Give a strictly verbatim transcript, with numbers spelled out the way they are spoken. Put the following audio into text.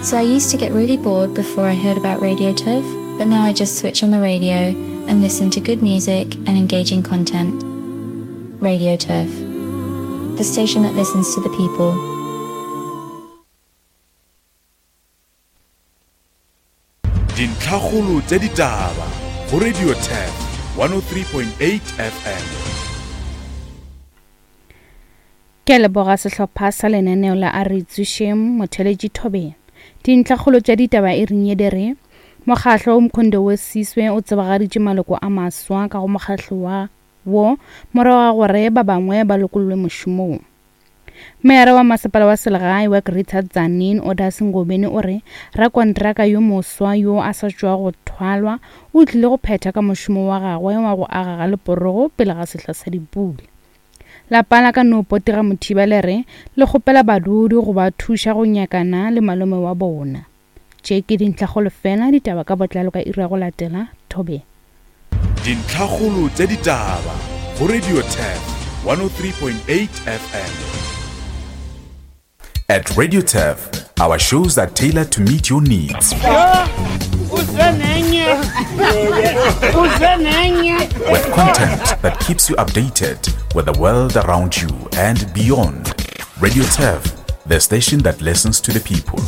So I used to get really bored before I heard about Radio Turf, but now I just switch on the radio and listen to good music and engaging content. Radio Turf, the station that listens to the people. Dintlhakgolo tša ditaba go Radio Turf one oh three point eight F M. Ke leboga sehlopha sa lenaneo la a re tsošeng motheletši Thobela. Dintlhakgolo tša ditaba e reng ye di re mokgahlo o Mkhonto we Sizwe o tsebagaditše maloko a maswa ka go mokgahlo wa wo morago ga gore ba bangwe ba lokollwe mošomong. Meyara wa masepala wa selegae wa Greater Tzaneen Odas Ngobeni o re rakontraka yo moswa yo a sa tšwa go thwalwa o tlile go phetha ka mošomo wa gagwe wa go aga ga leporogo pele ga sehla sa dipula. Lapa la ka no potega Mothiba le re le kgopela badudi go ba thuša go nyakana le malome wa bona. Tše ke dintlhakgolo fela, ditaba ka botlalo ka iri ya go latela Thobela. Dintlhakgolo tša ditaba go Radio Turf one oh three point eight F M. At Radio Turf, our shows are tailored to meet your needs. With content that keeps you updated with the world around you and beyond. Radio Turf, the station that listens to the people.